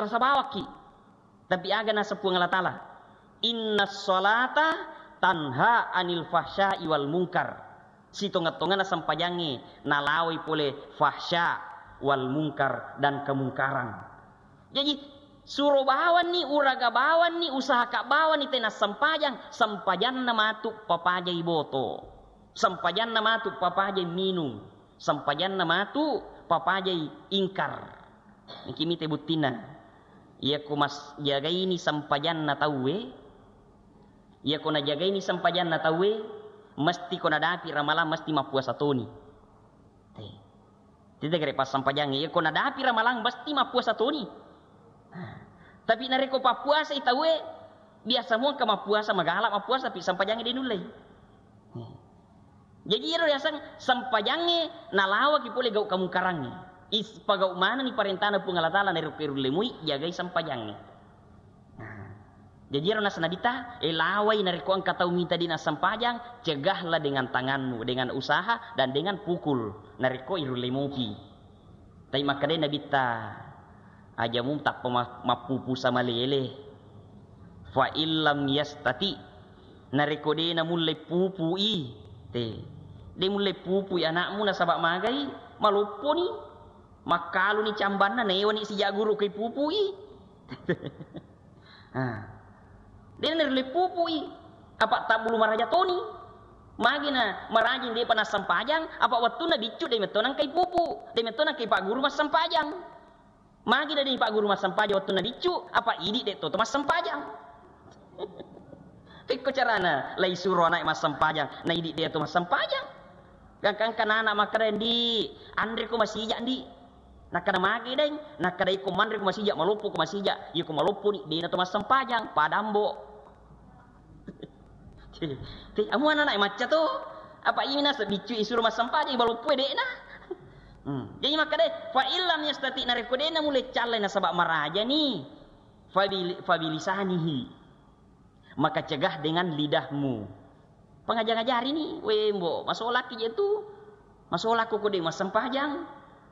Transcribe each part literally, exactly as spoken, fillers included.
marasa bawakki. Tapi aga naseng Puang Allah Ta'ala, "Innas salata tanha anil fahsya'i wal munkar." Sitongeng-tongenna sempajangnge nalawai pole fahsya wal munkar dan kemungkaran. Jaji, suro bawanni, uraga bawanni, usahaka bawanni tena sempajang, sempajanna matu papajai boto. Sempajanna matu papajai minung. Sempajanna matu papajai ingkar. Niki mite buttinna. Iyako mas-, jagaini sempajanna tauwe, iyako najagaini sempajanna tauwe, mesti ko nadapi ramalang mesti mappuasa toni. Te. Tete gare passempajangnge, iyako nadapi ramalang mesti mappuasa toni. Tapi narekko pappuasai tauwe, biasa muangka mappuasa, magala mappuasa, tapi sempajangnge de nullei. Jaji iyaro riaseng sempajangnge nalawaki pole gau kamungkarangnge. Is-, pagau manenni parentana Puang Allah Ta'ala narekko irulle mui, jagai sempajangnge. Nah, jaji iyaro naseng Nabitta, eh, lawai narekko engka tau mita de nassempajang, cegahlah dengan tanganmu, dengan usaha, dan dengan pukul. Narekko irulle mupi. Tapi makkedai Nabitta, aja mu tappa ma-, mappupu samalele. Fa illam yastati, narekko de namulle pupui, te. De mulle pupui anakmu nasaba magai, malopponi. Makkaluni cambanna, newani sija guru ko ipupui. Ha. De narulle pupui. Apa tabbulu maraja toni. Magi na marajing depa nassempajang, apa wettunna biccu de metto nangkai pupu, de metto nangkai pagguru massempajang. Magi na de pagguru massempajang wettunna biccu, apa idi de to massempajang. Pekko carana, lai suro anak massempajang, na idi de to massempajang. Gangka-gangka nana makkeda, "Ndi, anre ko masija, Ndi." Nakkeda, "Magi, Deng?" Nakkeda, "Iko manre ko masija, maloppo ko masija. Iko maloppo ni, de na to massempajang, padambo." Te, amu anak macca to. Apa imi naseng biccu isuro massempajang, maloppo de na. Hmm. Jadi makkeda, "Fa illam yastati," narekko de na mulle callai nasaba maraja ni. Fabil-, fabilisanihi. Maka cegah dengan lidahmu. Pengajang-ajari ni, we mbo, masolaki je tu. Masolako ko de massempajang.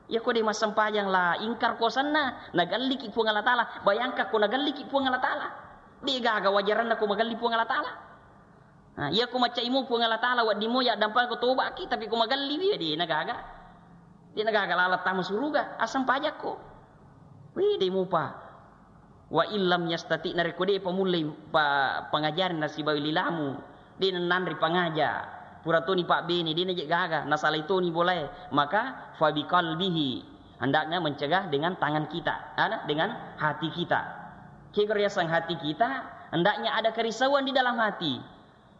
Ya ko de massempajang la ingkar kosanna, nagalliki Puang Allah Ta'ala. Bayangkan ko nagalliki Puang Allah Ta'ala. De gaga wajaranna ko magalli Puang Allah Ta'ala. Nah, iya ko macaimu Puang Allah Ta'ala, wedding mo ya dampang ko tobaki, tapi ko magalli wi, de na gaga. De na gaga lalat tama suruga, assempajakko. Wi, de mupa. Wa illam yastati, narekko de pamullei pa-, pangajari nasibawi lilamu, de nanre pangaja, pura toni pabbene, de naje gaga, nasalai toni bolae, maka fabiqalbihi, hendaknya mencegah dengan tangan kita, ada, dengan hati kita. Kegoriasang hati kita, hendaknya ada kerisauan di dalam hati.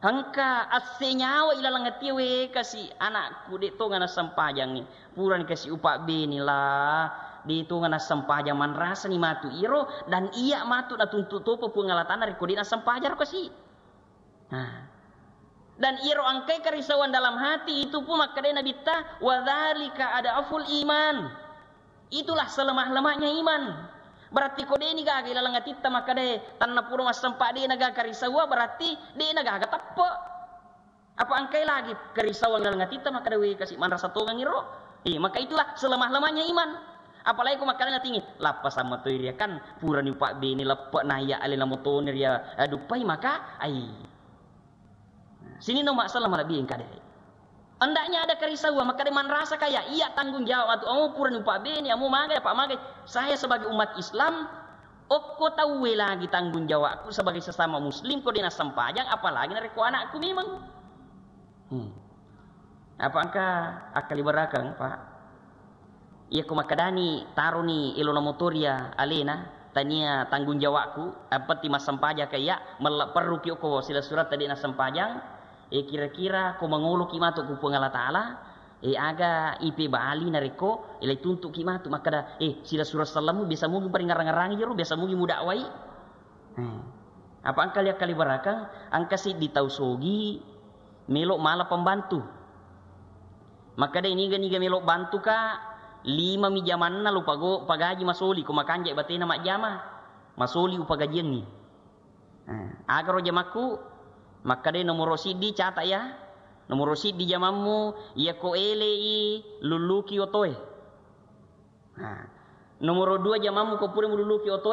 Engka asse nyawa ilaleng atie, we kasi anakku, de tonga nassempajangngi. Purani kasi upabbene la, de tonga nassempajang, manrasani matu iro, dan iya matu natuntu topa Puang Allah Ta'ala rekko de nassempajang ro kasi. Nah. Dan iro engkai kerisauan dalam hati itu pun makkedai Nabitta, "Wa dzalika ad'aful iman." Itulah selemah-lemahnya iman. Berarti ko deni gaga ilaleng atitta makkeda, "Tanna pura massempa de na gaga karisaua," berarti de na gaga teppe. Apa engkai lagi kerisauan ilaleng atitta makkeda, "We kasi manrasa tongengi ro." Eh, maka itulah selemah-lemahnya iman. Apalagi ko makkeda natingi, "Lappa sama toi ria kan purani upabbene leppe na iya alena motone ria, eh, duppai maka ai." Sininna umma selleng malebbi engka de. Hendaknya ada kerisauan, makkeda manrasa kaya iya tanggung jawab matu, amo purani upabbene, amo magai, apa magai. Saya sebagai umat Islam, okko tauwe lagi tanggung jawabku sebagai sesama muslim, ko de nassempajang, apalagi narekko anakku memang. Hmm. Apa engka akkaliberakeng, Pak? Iya ko makkedani taroni elona motoria alena, tania tanggung jawabku, yang penting massempajang ka iya, mella perruki okko silessuretta de nassempajang, eh, kira-kira ko mangoloki matu ku Puang Allah Ta'ala, eh, aga ipebali narekko, eh, lai tuntuki matu makkeda, eh, silessureng sellemmu biasa mugi paringngarang-ngarangi jero, biasa mugi mudakwai. Eh. Apa engka liakkaliberakeng, engka siddi tau sogi, melo mala pembantu. Makkeda niga-niga melo bantu ka, lima mi jamanna lo pago-, pagaji masoli, ko makanja batena majjama, masoli upagajiangngi. Eh, agaro jamakku, makkeda nomoro siddi cata ya, nomoro siddi jamammu, iya ko elei lulluki otoe. Nah, nomoro dua jamammu ko pura mululuki otoe,